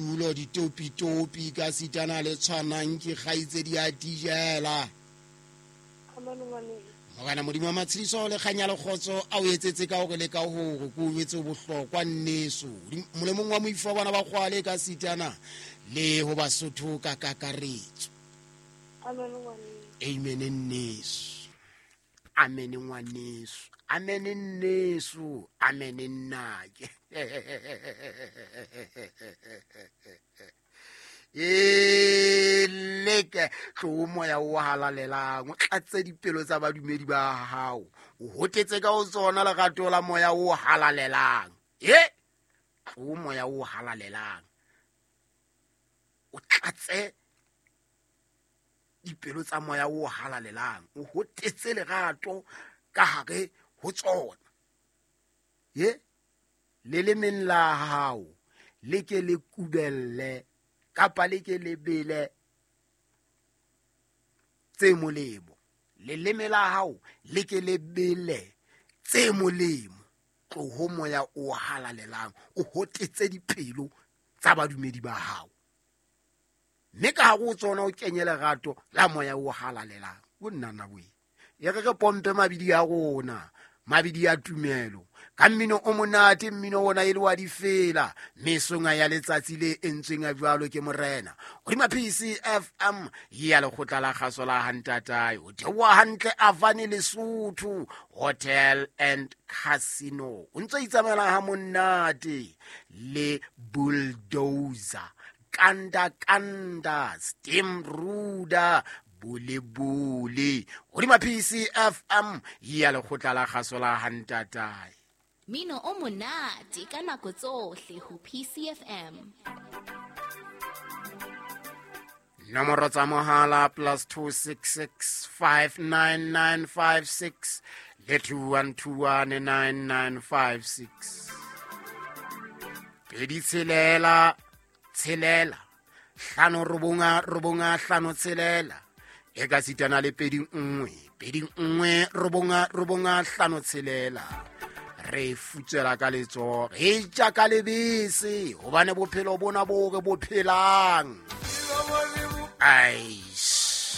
Tulo ditopitopi ka sitana le tshwanang ke kgaitsedi ya dijela. Morena Modimo wa matshediso le kganya le kgotso a o etsetse ka hore le ka hore ko o jwetse bohlokwa nneso molemong wa moifo wa bana ba kgwale ka sitana le ho Basotho ka kakaretso. Amen nneso. Amen ngwaneso. Amen nneso. Amen nnake. E leke tlo moya o halalelang o tlatse dipelo tsa badumedi ba hao, o hotetse ka o tsona lerato la moya o halalelang. E tlo moya o halalelang o tlatse dipelo tsa moya o halalelang, o hotetse lerato ka hare ho tsona. Ye le lemeng la hao le ke le kubelle kapa le ke le bele tse molemo. Leleme la hao le ke le bele tse molemo. Tloho moya o halalelang o hotetse dipelo tsa badumedi ba hao, mme ka hare ho tsona o kenye lerato la moya o halalelang. O nnana boe e re re pompe mabidi a rona, mabidi a tumelo ka mmino o monate, mmino ona e le wa difela mesonga ya letsatsi le entsweng a jwalo ke morena hodima PCFM ya lekgotla la kgaso la hantatae. O theoha hantle Avani Lesotho Hotel and Casino, o ntse itsamaela ha monate le bulldozer kanda kanda steam ruda bole bole hodima PCFM ya lekgotla la kgaso la hantatae. Mino o monate ka nako tsohle ho PCFM. Nomoro tsa mohala +266 59956 le 21219956. 2 6 6 5 9 9 5 6 e ka sitana le 2 1 2 1 9 9 5 6. Re futsela ka letsoho, re ja ka lebese, hobane bophelo bona bo re bo phelang. Ai.